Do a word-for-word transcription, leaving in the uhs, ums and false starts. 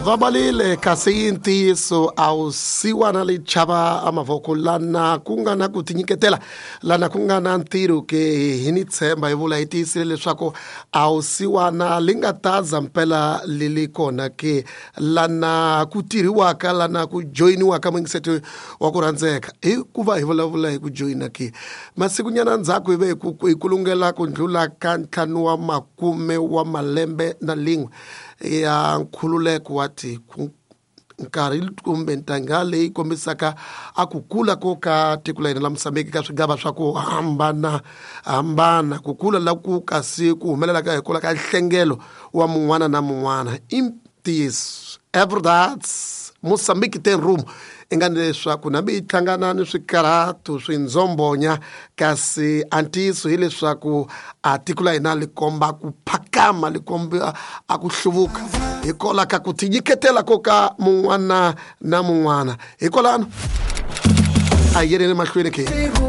Vabalile kasi i ntiyiso a wu siwana lichava a mavoko lana ku nga na ku tinyiketela lana ku nga na ntirho ke hi ni tshemba hi vula hi tiyisile leswaku a wu siwana li nga ta za mpela li li kona ke lana ku tirhiwaka lana ku joyiniwaka mungiseti wa ku rhandzeka hikuva hi vulavula hi ku joyina ke masikunyana ndzhaku hi ve hi ku hi kulungela ku ndlula ka ntlhanu wa makume wa malembe na lin'we ya nkhululeko wa tiko nkarhi kumbe ntangha leyi kombisaka a ku kula ko ka tiko la hina la Mosambiki ka swigava swa ku hambana hambana ku kula la ku kasi ku humelela ka hi kula ka nhlengelo wa mun'wana na mun'wana i ntiyiso é verdade Moçambique tem rumo i nga ni leswaku nambi yi hlangana ni swikarhato swindzombonya kasi a ntiyiso hileswaku a tiko la hina li komba ku phakama li komba a ku hluvuka hikwalaho ka ku tinyiketela ko ka mun'wana na mun'wana hikwalano a hi yeleni mahlweni ke.